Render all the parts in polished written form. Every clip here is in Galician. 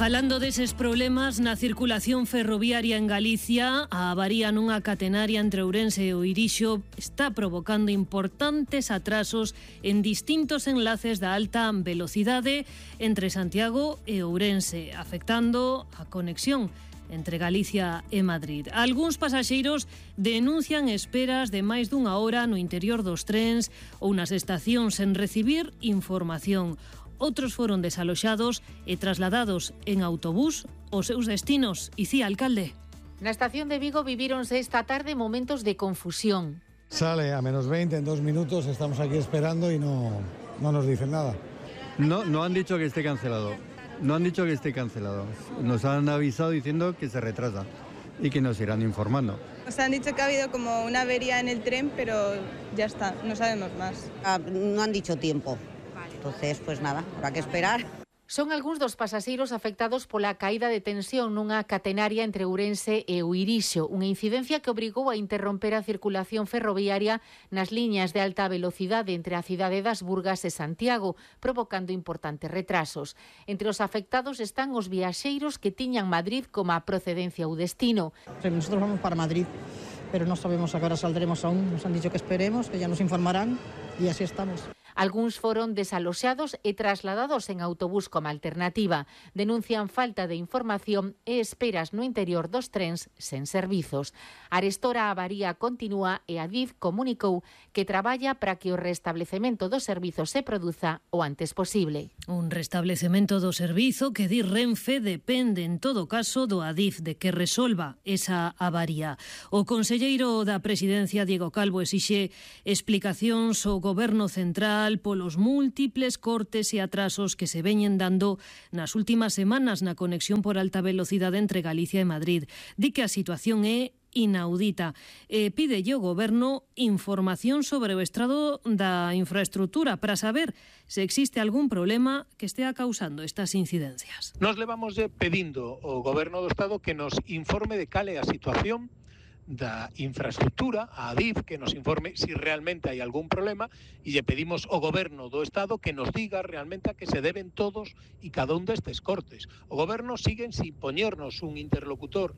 Falando deses problemas na circulación ferroviaria en Galicia, a avaría nunha catenaria entre Ourense e o Irixo está provocando importantes atrasos en distintos enlaces da alta velocidade entre Santiago e Ourense, afectando a conexión entre Galicia e Madrid. Algúns pasaxeiros denuncian esperas de máis dunha hora no interior dos trens ou nas estacións sen recibir información. Outros foron desaloxados e trasladados en autobús aos seus destinos. Icía, alcalde. Na estación de Vigo vivíronse esta tarde momentos de confusión. Sale a menos 20 en 2 minutos, estamos aquí esperando y no nos dicen nada. No han dicho que esté cancelado. No han dicho que esté cancelado. Nos han avisado diciendo que se retrasa y que nos irán informando. Nos han dicho que ha habido como una avería en el tren, pero ya está, no sabemos más. No han dicho tiempo. Entonces, pues nada, habrá que esperar. Son algúns dos pasaxeiros afectados pola caída de tensión nunha catenaria entre Ourense e o Irixo, unha incidencia que obrigou a interromper a circulación ferroviaria nas liñas de alta velocidade entre a cidade das Burgas e Santiago, provocando importantes retrasos. Entre os afectados están os viaxeiros que tiñan Madrid como a procedencia ou destino. Nosotros vamos para Madrid, pero no sabemos a qué hora saldremos aún. Nos han dicho que esperemos, que ya nos informarán y así estamos. Algúns foron desaloxados e trasladados en autobús como alternativa. Denuncian falta de información e esperas no interior dos trens sen servizos. Arestora a avaría continúa e Adif comunicou que traballa para que o restablecemento dos servizos se produza o antes posible. Un restablecemento do servizo que di Renfe depende en todo caso do Adif de que resolva esa avaría. O conselleiro da Presidencia, Diego Calvo, exixe explicacións ao Goberno Central polos múltiples cortes e atrasos que se veñen dando nas últimas semanas na conexión por alta velocidade entre Galicia e Madrid. Di que a situación é inaudita. Pídelle ao Goberno información sobre o estado da infraestrutura para saber se existe algún problema que estea causando estas incidencias. Nos levamos pedindo ao Goberno do Estado que nos informe de cal é a situación da infraestructura, a Adif, que nos informe si realmente hai algún problema, e lle pedimos ao Goberno do Estado que nos diga realmente a que se deben todos e cada un destes cortes. O Goberno sigue sin poñernos un interlocutor.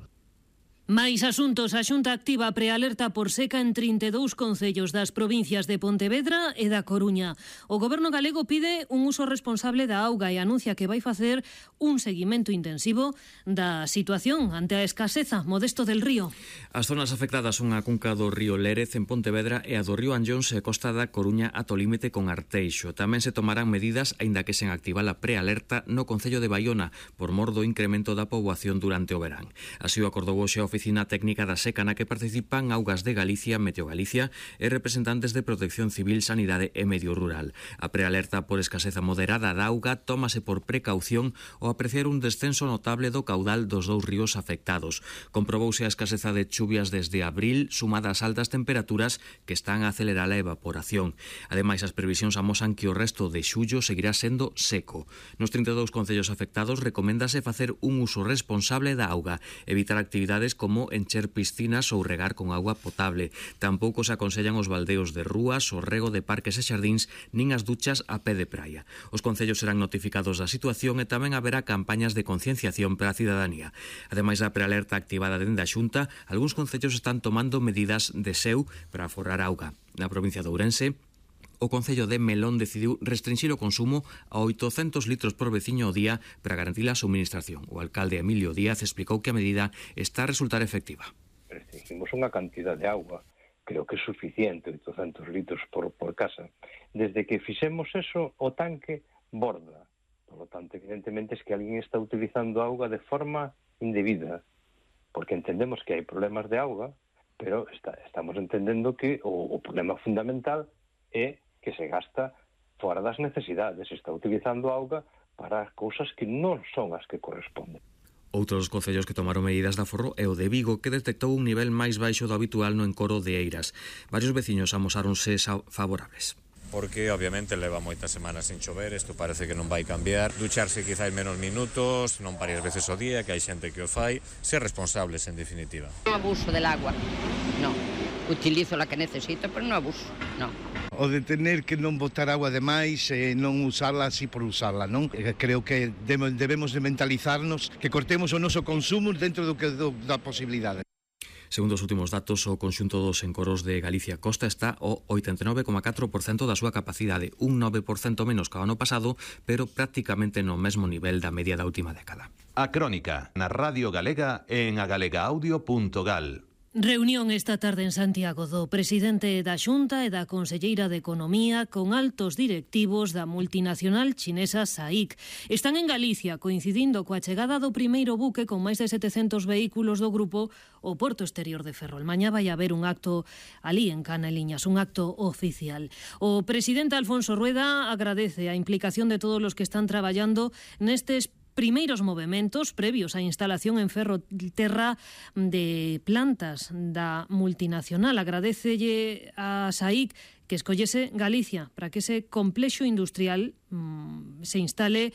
Mais asuntos, a Xunta activa a prealerta por seca en 32 concellos das provincias de Pontevedra e da Coruña. O Goberno galego pide un uso responsable da auga e anuncia que vai facer un seguimento intensivo da situación ante a escaseza. Modesto del Río. As zonas afectadas son a cunca do río Lérez en Pontevedra e a do río Anllóns e Costa da Coruña ata o límite con Arteixo. Tamén se tomarán medidas, aínda que sen activar a prealerta, no concello de Baiona por mor do incremento da poboación durante o verán. Así o acordou hoxe a Oficina Técnica da Seca na que participan Augas de Galicia, Meteo Galicia e representantes de Protección Civil, Sanidade e Medio Rural. A prealerta por escaseza moderada da auga tómase por precaución ao apreciar un descenso notable do caudal dos dous ríos afectados. Comprobouse a escaseza de chuvias desde abril, sumada ás altas temperaturas que están a acelerar a evaporación. Ademais, as previsións amosan que o resto de xullo seguirá sendo seco. Nos 32 concellos afectados recoméndase facer un uso responsable da auga, evitar actividades como encher piscinas ou regar con agua potable. Tampouco se aconsellan os baldeos de rúas, o rego de parques e xardíns, nin as duchas a pé de praia. Os concellos serán notificados da situación e tamén haberá campañas de concienciación para a cidadanía. Ademais da prealerta activada dende a Xunta, algúns concellos están tomando medidas de seu para aforrar auga. Na provincia de Ourense, o Concello de Melón decidiu restringir o consumo a 800 litros por veciño ao día para garantir a suministración. O alcalde Emilio Díaz explicou que a medida está a resultar efectiva. Restringimos unha cantidad de auga, creo que é suficiente, 800 litros por casa. Desde que fixemos eso, o tanque borda. Por lo tanto, evidentemente, es que alguén está utilizando auga de forma indebida, porque entendemos que hai problemas de auga, pero estamos entendendo que o problema fundamental é que se gasta fora das necesidades, se está utilizando auga para cousas que non son as que corresponden. Outro dos concellos que tomaron medidas de aforro é o de Vigo, que detectou un nivel máis baixo do habitual no encoro de Eiras. Varios veciños amosáronse favorables. Porque obviamente leva moitas semanas sin chover, isto parece que non vai cambiar. Ducharse quizás menos minutos, non varias veces ao día, que hai xente que o fai. Ser responsables, en definitiva. Abuso del agua, no. utilizo la que necesito, pero non abuso, non. O de tener que non botar agua de máis e non usarla así por usarla, non? Creo que debemos de mentalizarnos que cortemos o noso consumo dentro da posibilidade. Segundo os últimos datos, o conxunto dos encoros de Galicia Costa está ao 89,4% da súa capacidade, un 9% menos que o ano pasado, pero prácticamente no mesmo nivel da media da última década. A Crónica, na Radio Galega e en agalegaaudio.gal. Reunión esta tarde en Santiago do presidente da Xunta e da conselleira de Economía con altos directivos da multinacional chinesa SAIC. Están en Galicia coincidindo coa chegada do primeiro buque con máis de 700 vehículos do grupo ao Porto Exterior de Ferrol. Mañá vai haber un acto ali en Caneliñas, un acto oficial. O presidente Alfonso Rueda agradece a implicación de todos os que están traballando nestes primeiros movementos previos á instalación en Ferrolterra de plantas da multinacional. Agradecelle a SAIC que escollese Galicia para que ese complexo industrial se instale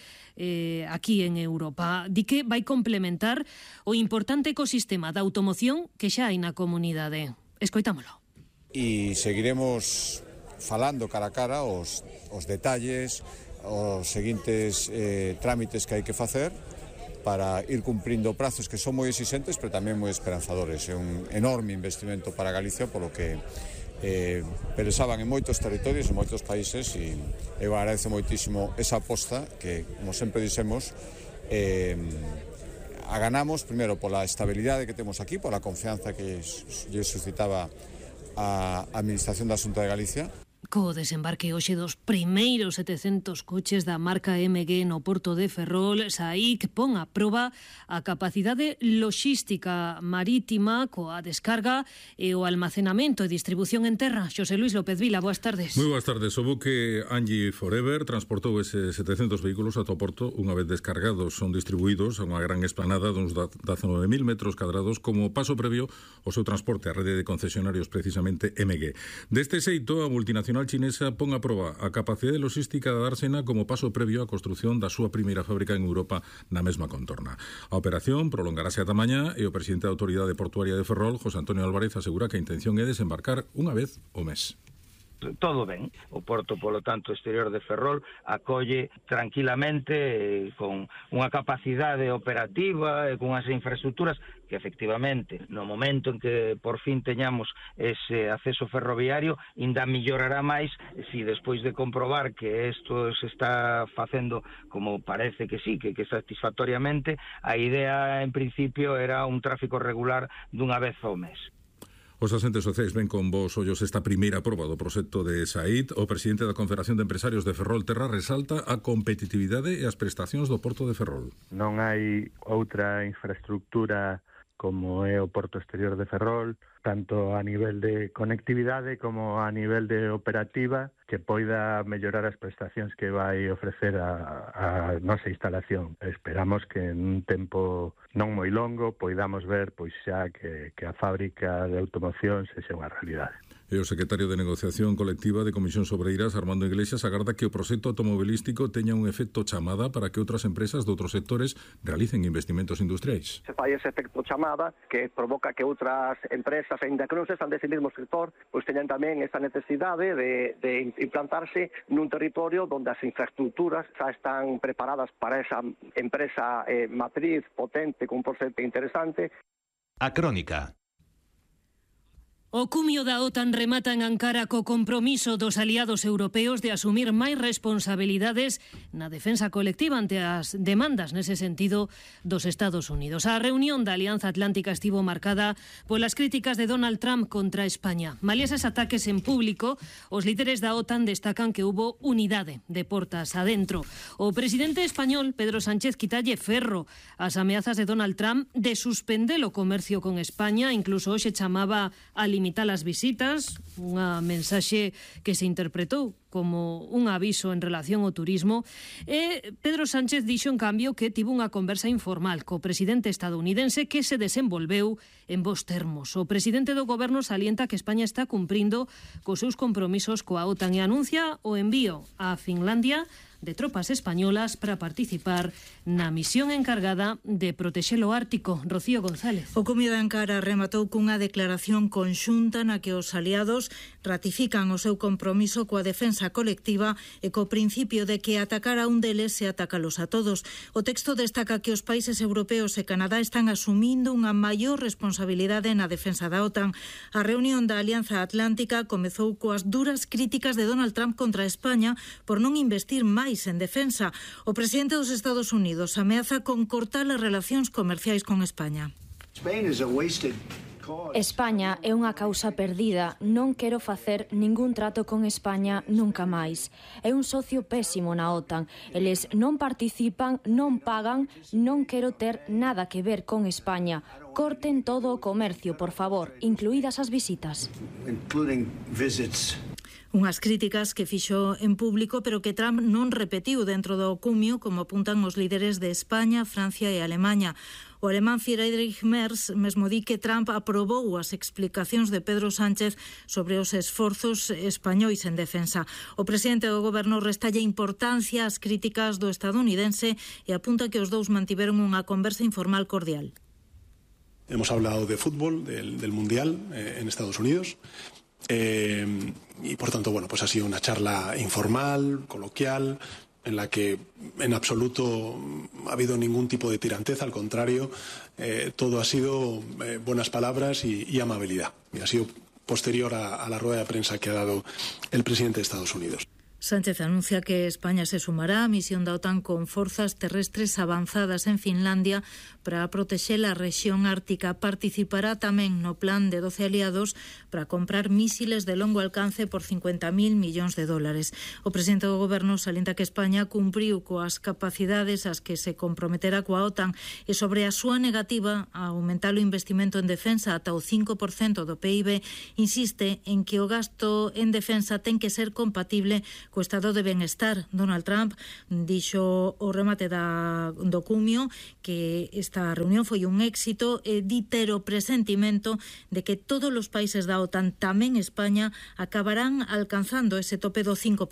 aquí en Europa. Di que vai complementar o importante ecosistema da automoción que xa hai na comunidade. Escoitámolo. E seguiremos falando cara a cara os detalles, os seguintes trámites que hai que facer para ir cumprindo prazos que son moi exixentes, pero tamén moi esperanzadores. É un enorme investimento para Galicia, polo que pensaban en moitos territorios, en moitos países, e eu agradezo moitísimo esa aposta que, como sempre dixemos, aganamos primeiro pola estabilidade que temos aquí, pola confianza que lle suscitaba a Administración da Xunta de Galicia. Co desembarque hoxe dos primeiros 700 coches da marca MG no Porto de Ferrol, SAIC pon a proba a capacidade loxística marítima coa descarga e o almacenamento e distribución en terra. Xosé Luis López Vila, boas tardes. Moi boas tardes. O buque Angie Forever transportou eses 700 vehículos ata o Porto. Unha vez descargados, son distribuídos a unha gran esplanada duns 19.000 metros cadrados como paso previo ao seu transporte á rede de concesionarios precisamente MG. Deste xeito, a multinacional chinesa pon a proba a capacidade logística da dársena como paso previo á construción da súa primeira fábrica en Europa na mesma contorna. A operación prolongarase ata mañá e o presidente da Autoridade Portuaria de Ferrol, José Antonio Álvarez, asegura que a intención é desembarcar unha vez ao mes. Todo ben. O Porto, polo tanto, exterior de Ferrol acolle tranquilamente con unha capacidade operativa e con as infraestructuras que efectivamente no momento en que por fin teñamos ese acceso ferroviario ainda millorará máis si despois de comprobar que isto se está facendo como parece que sí, que satisfactoriamente, a idea en principio era un tráfico regular dunha vez ao mes. Os asentes sociais ven con vos ollos esta primeira proba do proxecto de SAIC. O presidente da Confederación de Empresarios de Ferrolterra resalta a competitividade e as prestacións do Porto de Ferrol. Non hai outra infraestructura como é o Porto Exterior de Ferrol, tanto a nivel de conectividade como a nivel de operativa, que poida mellorar as prestacións que vai ofrecer a nosa instalación. Esperamos que en un tempo non moi longo poidamos ver pois xa que a fábrica de automoción sexa unha realidade. E o secretario de Negociación Colectiva de Comisións Obreiras, Armando Iglesias, agarda que o proxecto automobilístico teña un efecto chamada para que outras empresas de outros sectores realicen investimentos industriais. Se fai ese efecto chamada que provoca que outras empresas, ainda que non sexan dese mesmo sector, pois teñan tamén esa necesidade de implantarse nun territorio onde as infraestructuras xa están preparadas para esa empresa matriz potente con un proxecto interesante. A Crónica. O cumio da OTAN remata en Ankara co compromiso dos aliados europeos de asumir máis responsabilidades na defensa colectiva ante as demandas nese sentido dos Estados Unidos. A reunión da Alianza Atlántica estivo marcada polas críticas de Donald Trump contra España. Malia eses ataques en público, os líderes da OTAN destacan que hubo unidade de portas adentro. O presidente español, Pedro Sánchez, quitalle ferro ás ameazas de Donald Trump de suspender o comercio con España, incluso hoxe chamaba a limitar as visitas, unha mensaxe que se interpretou como un aviso en relación ao turismo. E Pedro Sánchez dixo, en cambio, que tivo unha conversa informal co presidente estadounidense que se desenvolveu en bons termos. O presidente do goberno salienta que España está cumprindo cos seus compromisos coa OTAN e anuncia o envío a Finlandia de tropas españolas para participar na misión encargada de protexer o Ártico. Rocío González. O Comio de Ankara rematou cunha declaración conxunta na que os aliados ratifican o seu compromiso coa defensa colectiva e co principio de que atacar a un deles se atacalos a todos. O texto destaca que os países europeos e Canadá están asumindo unha maior responsabilidade na defensa da OTAN. A reunión da Alianza Atlántica comezou coas duras críticas de Donald Trump contra España por non investir máis en defensa. O presidente dos Estados Unidos ameaza con cortar as relacións comerciais con España. España é unha causa perdida. Non quero facer ningún trato con España nunca máis. É un socio pésimo na OTAN. Eles non participan, non pagan, non quero ter nada que ver con España. Corten todo o comercio, por favor, incluídas as visitas. Unhas críticas que fixo en público, pero que Trump non repetiu dentro do cumio, como apuntan os líderes de España, Francia e Alemaña. O alemán Friedrich Merz mesmo di que Trump aprobou as explicacións de Pedro Sánchez sobre os esforzos españois en defensa. O presidente do goberno restalle importancia ás críticas do estadounidense e apunta que os dous mantiveron unha conversa informal cordial. Hemos hablado de fútbol, del Mundial en Estados Unidos. Y por tanto, bueno, pues ha sido una charla informal, coloquial, en la que en absoluto ha habido ningún tipo de tiranteza, al contrario, todo ha sido buenas palabras y amabilidad. Y ha sido posterior a la rueda de prensa que ha dado el presidente de Estados Unidos. Sánchez anuncia que España se sumará á misión da OTAN con forzas terrestres avanzadas en Finlandia para protexer a rexión ártica. Participará tamén no plan de 12 aliados para comprar mísiles de longo alcance por 50.000 millóns de dólares. O presidente do goberno salienta que España cumpriu coas capacidades ás que se comprometera coa OTAN e sobre a súa negativa a aumentar o investimento en defensa ata o 5% do PIB, insiste en que o gasto en defensa ten que ser compatible co estado de benestar. Donald Trump dixo o remate do cumio que esta reunión foi un éxito e di ter o presentimento de que todos os países da OTAN, tamén España, acabarán alcanzando ese tope do 5%.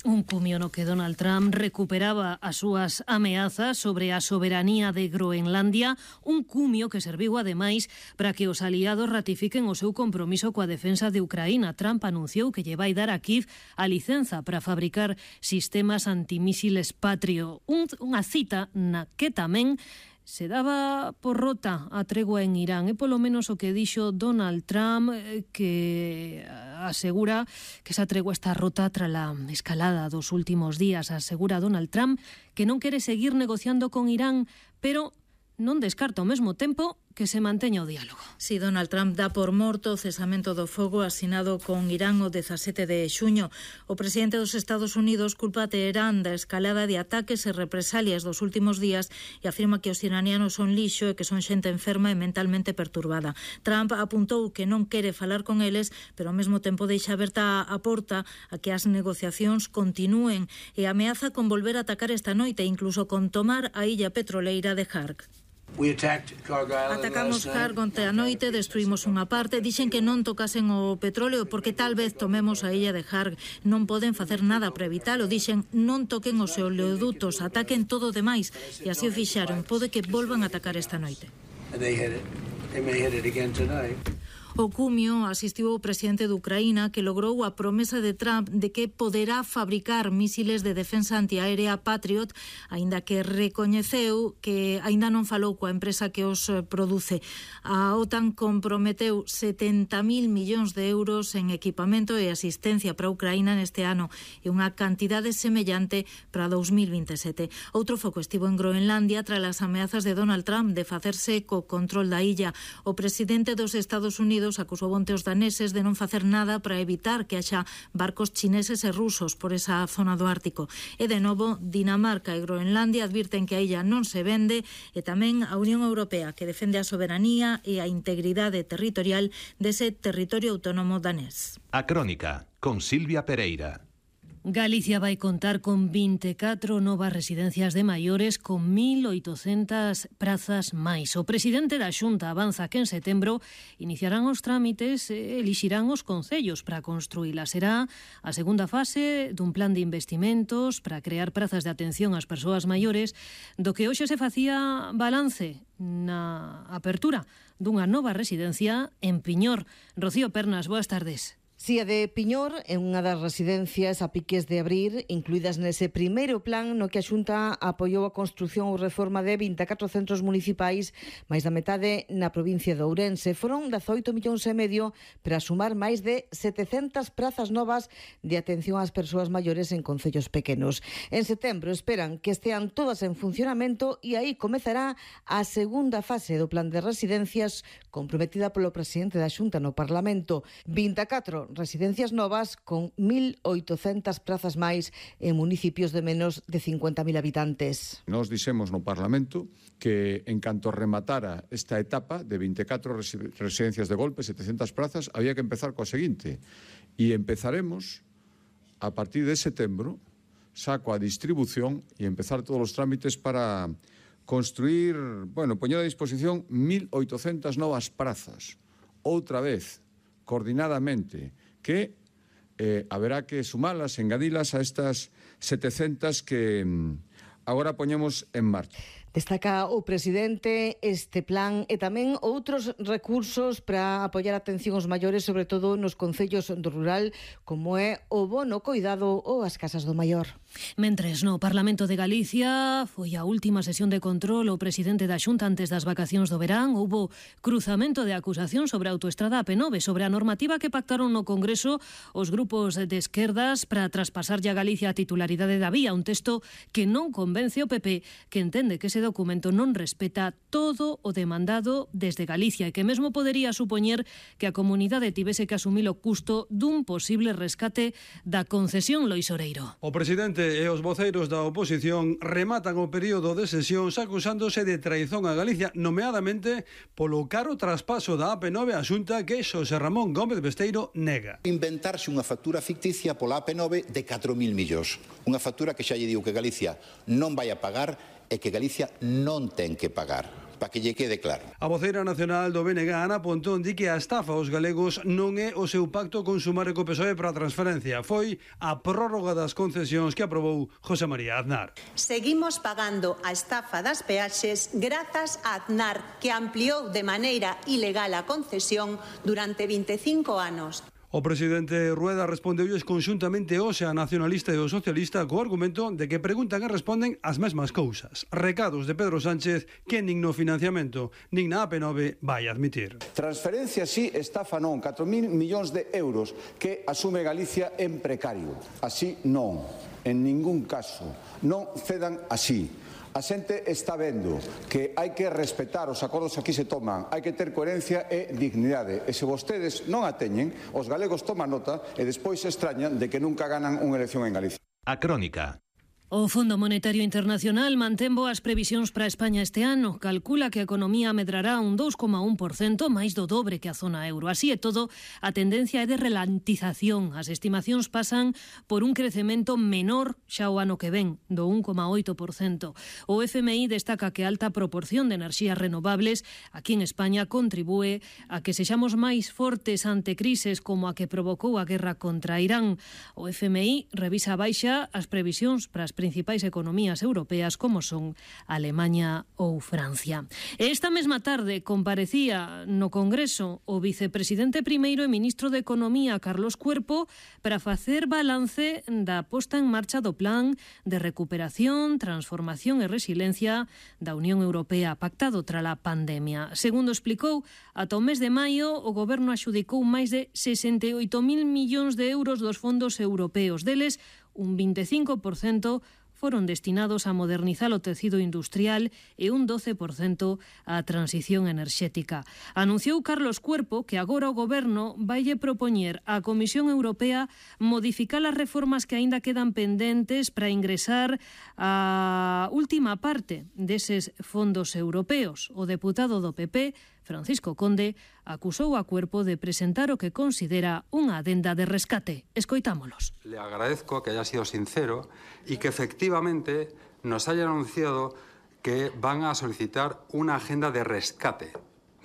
Un cumio no que Donald Trump recuperaba as súas ameazas sobre a soberanía de Groenlandia, un cumio que serviu ademais para que os aliados ratifiquen o seu compromiso coa defensa de Ucraína. Trump anunciou que lle vai dar a Kiev a licenza para fabricar sistemas antimísiles Patrio. Unha cita na que tamén se daba por rota a tregua en Irán. É polo menos o que dixo Donald Trump, que asegura que esa tregua está rota tras a escalada dos últimos días. Asegura Donald Trump que non quere seguir negociando con Irán, pero non descarta ao mesmo tempo que se manteña o diálogo. Si Donald Trump dá por morto o cesamento do fogo asinado con Irán o 17 de xuño. O presidente dos Estados Unidos culpa a Teherán da escalada de ataques e represalias dos últimos días e afirma que os iranianos son lixo e que son xente enferma e mentalmente perturbada. Trump apuntou que non quere falar con eles, pero ao mesmo tempo deixa aberta a porta a que as negociacións continúen e ameaza con volver a atacar esta noite, incluso con tomar a illa petroleira de Harg. Atacamos Harg onte a noite, destruímos unha parte, dixen que non tocasen o petróleo porque tal vez tomemos a illa de Harg. Non poden facer nada para evitalo, dixen non toquen os oleodutos, ataquen todo o demais, e así o fixaron. Pode que volvan a atacar esta noite. O cumio asistiu o presidente de Ucraína, que logrou a promesa de Trump de que poderá fabricar mísiles de defensa antiaérea Patriot, aínda que recoñeceu que aínda non falou coa empresa que os produce. A OTAN comprometeu 70.000 millóns de euros en equipamento e asistencia para Ucraína neste ano e unha cantidade semellante para 2027. Outro foco estivo en Groenlandia tras as ameazas de Donald Trump de facerse co control da illa. O presidente dos Estados Unidos acusou onte os daneses de non facer nada para evitar que haxa barcos chineses e rusos por esa zona do Ártico. E de novo, Dinamarca e Groenlandia advirten que a illa non se vende, e tamén a Unión Europea, que defende a soberanía e a integridade territorial dese territorio autónomo danés. A Crónica, con Silvia Pereira. Galicia vai contar con 24 novas residencias de maiores con 1.800 prazas máis. O presidente da Xunta avanza que en setembro iniciarán os trámites e elixirán os concellos para construílas. Será a segunda fase dun plan de investimentos para crear prazas de atención ás persoas maiores do que hoxe se facía balance na apertura dunha nova residencia en Piñor. Rocío Pernas, boas tardes. Si a de Piñor é unha das residencias a piques de abrir, incluídas nese primeiro plan no que a Xunta apoiou a construción ou reforma de 24 centros municipais, máis da metade na provincia de Ourense. Foron 18,5 millóns para sumar máis de 700 prazas novas de atención ás persoas maiores en concellos pequenos. En setembro esperan que estean todas en funcionamento e aí comezará a segunda fase do plan de residencias comprometida polo presidente da Xunta no Parlamento. 24 residencias novas con 1.800 prazas máis en municipios de menos de 50.000 habitantes. Nos dixemos no Parlamento que en canto rematara esta etapa de 24 residencias de golpe, 700 prazas, había que empezar coa seguinte. E empezaremos a partir de setembro, saco a distribución e empezar todos os trámites para construir, poñer a disposición 1.800 novas prazas. Outra vez, coordinadamente, que haberá que sumalas, engadilas a estas 700 que agora poñemos en marcha. Destaca o presidente este plan e tamén outros recursos para apoiar a atención aos maiores, sobre todo nos concellos do rural, como é o bono coidado ou as casas do maior. Mentres no Parlamento de Galicia foi a última sesión de control o presidente da Xunta antes das vacacións do verán, houbo cruzamento de acusación sobre a autoestrada AP9, sobre a normativa que pactaron no Congreso os grupos de esquerdas para traspasarlle a Galicia a titularidade da vía, un texto que non convence o PP, que entende que ese documento non respeta todo o demandado desde Galicia e que mesmo podería supoñer que a comunidade tivese que asumir o custo dun posible rescate da concesión. Lois Oreiro. O presidente e os voceiros da oposición rematan o período de sesións acusándose de traizón a Galicia, nomeadamente polo caro traspaso da AP9 á Xunta que Xosé Ramón Gómez Besteiro nega. Inventarse unha factura ficticia pola AP9 de 4.000 millóns. Unha factura que xa lle digo que Galicia non vai a pagar e que Galicia non ten que pagar, para que lle quede claro. A voceira nacional do BNG, Ana Pontón, di que a estafa aos galegos non é o seu pacto con Sumar e co PSOE para a transferencia, foi a prórroga das concesións que aprobou José María Aznar. Seguimos pagando a estafa das peaxes grazas a Aznar, que ampliou de maneira ilegal a concesión durante 25 anos. O presidente Rueda respondeulles conxuntamente hoxe a nacionalista e o socialista co argumento de que preguntan e responden as mesmas cousas. Recados de Pedro Sánchez que nin no financiamento nin na AP9 vai admitir. Transferencia sí, estafa non, 4.000 millóns de euros que asume Galicia en precario. Así non, en ningún caso. Non cedan así. A xente está vendo que hai que respetar os acordos que aquí se toman, hai que ter coherencia e dignidade. E se vostedes non a teñen, os galegos toman nota e despois se extrañan de que nunca ganan unha elección en Galicia. A Crónica. O Fondo Monetario Internacional mantén boas previsións para España este ano. Calcula que a economía medrará un 2,1%, máis do dobre que a zona euro. Así e todo, a tendencia é de ralentización. As estimacións pasan por un crecemento menor xa o ano que ven, do 1,8%. O FMI destaca que a alta proporción de enerxías renovables aquí en España contribúe a que sexamos máis fortes ante crises como a que provocou a guerra contra Irán. O FMI revisa a baixa as previsións para as principais economías europeas como son Alemanha ou Francia. Esta mesma tarde comparecía no Congreso o vicepresidente primeiro e ministro de Economía, Carlos Cuerpo, para facer balance da posta en marcha do plan de recuperación, transformación e resiliencia da Unión Europea pactado trala pandemia. Segundo explicou, ata o mes de maio o goberno axudicou máis de 68.000 millóns de euros dos fondos europeos. Deles, un 25% foron destinados a modernizar o tecido industrial e un 12% á transición enerxética. Anunciou Carlos Cuerpo que agora o goberno vaille propoñer á Comisión Europea modificar as reformas que aínda quedan pendentes para ingresar a última parte deses fondos europeos. O deputado do PP, Francisco Conde, acusou a Cuerpo de presentar o que considera unha adenda de rescate. Escoitámolos. Le agradezco que haya sido sincero y que efectivamente nos haya anunciado que van a solicitar una agenda de rescate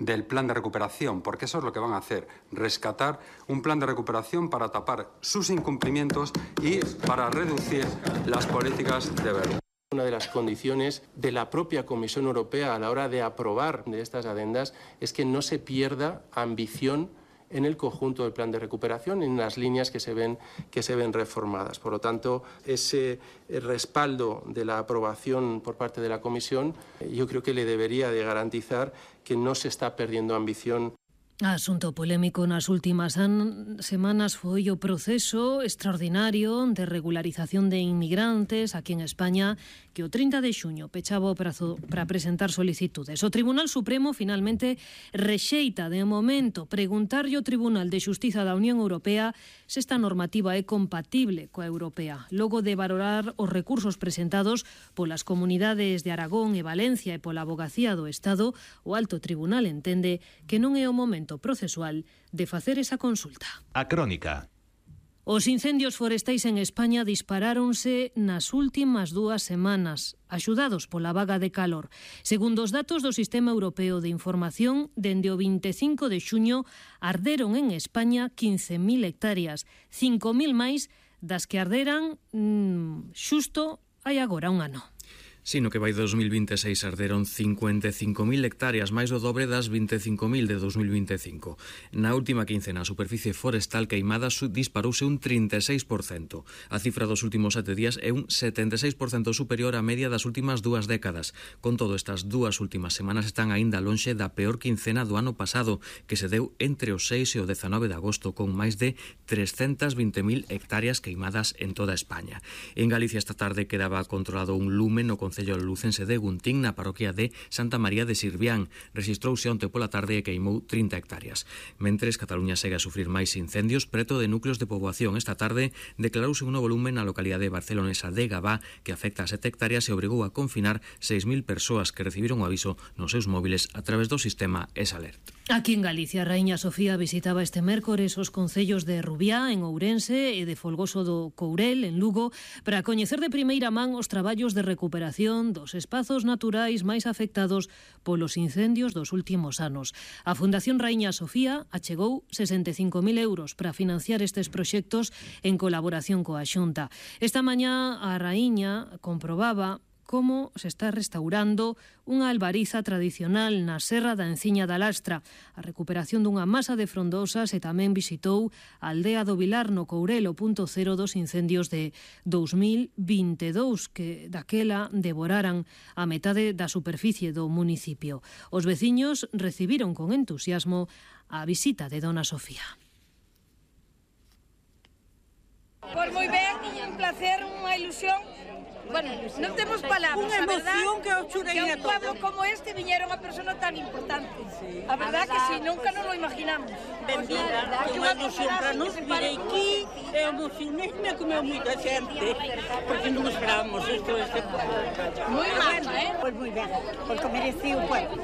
del plan de recuperación, porque eso es lo que van a hacer, rescatar un plan de recuperación para tapar sus incumplimientos y para reducir las políticas de Berlín. Una de las condiciones de la propia Comisión Europea a la hora de aprobar de estas adendas es que no se pierda ambición en el conjunto del plan de recuperación, en las líneas que se ven reformadas. Por lo tanto, ese respaldo de la aprobación por parte de la Comisión, yo creo que le debería de garantizar que no se está perdiendo ambición. Asunto polémico nas últimas semanas foi o proceso extraordinario de regularización de inmigrantes aquí en España que o 30 de xuño pechaba o prazo para presentar solicitudes. O Tribunal Supremo finalmente rexeita de momento preguntarlle ao Tribunal de Xustiza da Unión Europea se esta normativa é compatible coa europea. Logo de valorar os recursos presentados polas comunidades de Aragón e Valencia e pola Avogacía do Estado, o Alto Tribunal entende que non é o momento procesual de facer esa consulta. A crónica. Os incendios forestais en España disparáronse nas últimas 2 semanas, axudados pola vaga de calor. Segundo os datos do Sistema Europeo de Información, dende o 25 de xuño arderon en España 15.000 hectáreas, 5.000 máis das que arderan xusto hai agora un ano. Sino que vai 2026 arderon 55.000 hectáreas, máis do dobre das 25.000 de 2025. Na última quincena, a superficie forestal queimada disparouse un 36%. A cifra dos últimos 7 días é un 76% superior á media das últimas 2 décadas. Con todo, estas 2 últimas semanas están aínda lonxe da peor quincena do ano pasado, que se deu entre o 6 e o 19 de agosto, con máis de 320.000 hectáreas queimadas en toda España. En Galicia esta tarde quedaba controlado un lume no concello lucense de Guntín, na parroquia de Santa María de Sirvián. Rexistrouse onte pola tarde e queimou 30 hectáreas. Mentres, Cataluña segue a sufrir máis incendios preto de núcleos de poboación. Esta tarde declarouse un novo lume na localidade barcelonesa de Gabá que afecta a 7 hectáreas e obrigou a confinar 6.000 persoas que recibiron o aviso nos seus móviles a través do sistema ESALERT. Aquí en Galicia, a Raíña Sofía visitaba este mércores os concellos de Rubiá, en Ourense, e de Folgoso do Courel, en Lugo, para coñecer de primeira man os traballos de recuperación dos espazos naturais máis afectados polos incendios dos últimos anos. A Fundación Raíña Sofía achegou 65.000 euros para financiar estes proxectos en colaboración coa Xunta. Esta mañá a Raíña comprobaba como se está restaurando unha albariza tradicional na Serra da Enciña da Lastra, a recuperación dunha masa de frondosas, e tamén visitou a aldea do Vilar no Courel, o punto cero dos incendios de 2022, que daquela devoraran a metade da superficie do municipio. Os veciños recibiron con entusiasmo a visita de Dona Sofía. Pois moi ben, un placer, unha ilusión. Bueno, non temos palabras, a verdad, que un pueblo como este viñera unha persona tan importante. A verdad que si, nunca non lo imaginamos. Benvida, é unha ilusión para nos vir aquí, é emocionante, comeu moita xente, porque non esperábamos isto este pueblo. Moi macho, Pois moi ben, porque merecía o pueblo.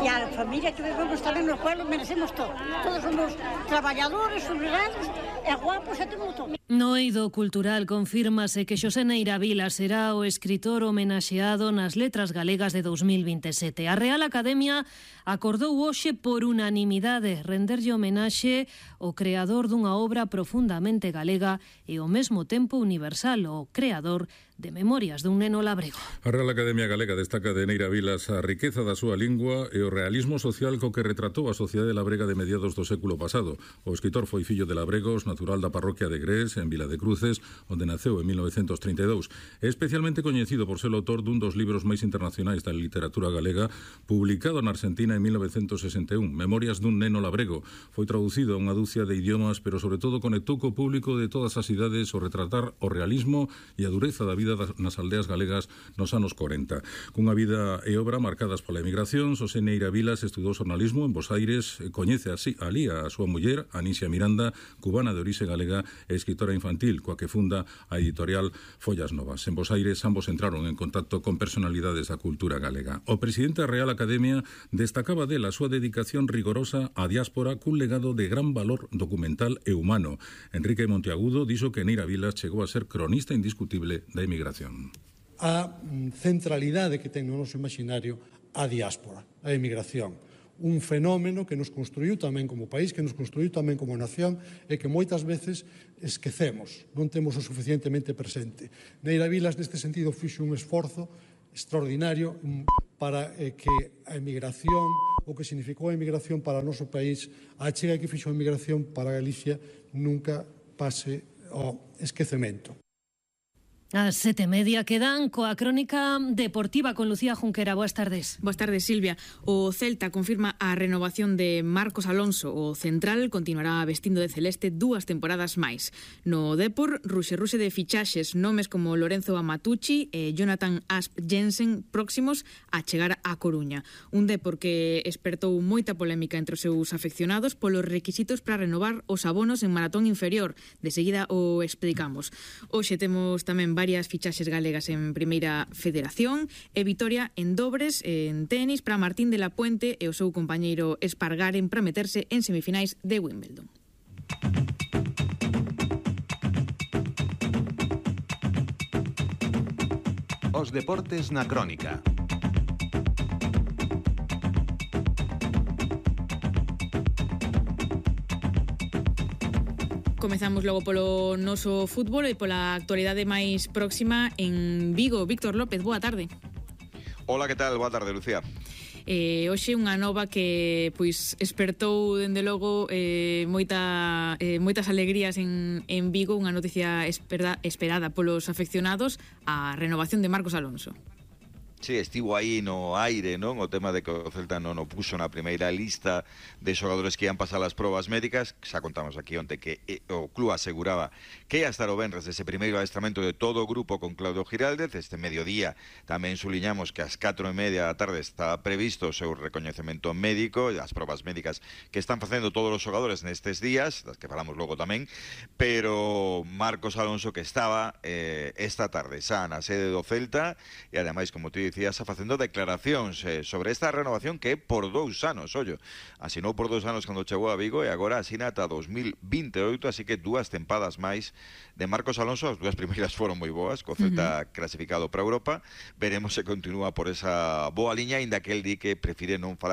E a familia que vivemos tamén no pueblo merecemos todo. Todos somos traballadores, obrigados, e guapos e temos todo. No eido cultural confírmase que Xosé Neira Vila será o escritor homenaxeado nas Letras Galegas de 2027. A Real Academia acordou hoxe por unanimidade renderlle homenaxe ao creador dunha obra profundamente galega e ao mesmo tempo universal, o creador de Memorias dun neno labrego. A Real Academia Galega destaca de Neira Vilas a riqueza da súa lingua e o realismo social co que retratou a sociedade labrega de mediados do século pasado. O escritor foi fillo de labregos, natural da parroquia de Grés, en Vila de Cruces, onde naceu en 1932. É especialmente coñecido por ser o autor dun dos libros máis internacionais da literatura galega, publicado na Argentina en 1961, Memorias dun neno labrego. Foi traducido a unha dúcia de idiomas, pero sobre todo conectou co público de todas as idades ao retratar o realismo e a dureza da vida vida nas aldeas galegas nos anos 40. Cunha vida e obra marcadas pola emigración, Xosé Neira Vilas estudou xornalismo en Bos Aires, coñece alí a súa muller, Anisia Miranda, cubana de orixe galega e escritora infantil, coa que funda a editorial Follas Novas. En Bos Aires ambos entraron en contacto con personalidades da cultura galega. O presidente da Real Academia destacaba dela a súa dedicación rigorosa á diáspora cun legado de gran valor documental e humano. Enrique Monteagudo dixo que Neira Vilas chegou a ser cronista indiscutible da emigración. A centralidade que ten no noso imaginario a diáspora, a emigración. Un fenómeno que nos construiu tamén como país, que nos construiu tamén como nación e que moitas veces esquecemos, non temos o suficientemente presente. Neira Vilas, neste sentido, fixo un esforzo extraordinario para que a emigración, o que significou a emigración para o noso país, a chega que fixo a emigración para Galicia, nunca pase ao esquecemento. As 7:30 quedan coa crónica deportiva con Lucía Junquera. Boas tardes. Boas tardes, Silvia. O Celta confirma a renovación de Marcos Alonso. O central continuará vestindo de celeste 2 temporadas máis. No Depor, ruxe de fichaxes, nomes como Lorenzo Amatucci e Jonathan Asp Jensen próximos a chegar a Coruña. Un Depor que espertou moita polémica entre os seus afeccionados polos requisitos para renovar os abonos en maratón inferior. De seguida o explicamos. Hoxe temos tamén varias fichaxes galegas en Primeira Federación e vitoria en dobres en tenis para Martín de la Puente e o seu compañeiro Espargaren para meterse en semifinais de Wimbledon. Os deportes na crónica. Comezamos logo polo noso fútbol e pola actualidade máis próxima en Vigo. Víctor López, boa tarde. Hola, que tal? Boa tarde, Lucía. Hoxe unha nova que pois espertou dende logo moitas alegrías en Vigo, unha noticia esperada polos afeccionados, a renovación de Marcos Alonso. Sí, estivo aí no aire, non? O tema de que o Celta non o puxo na primeira lista de xogadores que ian pasar as probas médicas. Xa contamos aquí onte que o club aseguraba que ia estar o venres dese primeiro adestramento de todo o grupo con Claudio Giraldez. Este mediodía tamén suliñamos que ás 4:30 da tarde está previsto o seu recoñecemento médico, as probas médicas que están facendo todos os xogadores nestes días, das que falamos logo tamén, pero Marcos Alonso que estaba esta tarde xa na sede do Celta e ademais, como ti dicías, facendo declaracións sobre esta renovación que é por 2 anos, ollo, asinou por 2 anos cando chegou a Vigo e agora asina ata 2028, así que 2 tempadas máis de Marcos Alonso. As 2 primeiras foron moi boas, co Celta clasificado para Europa. Veremos se continúa por esa boa liña, ainda que el di que prefire non falar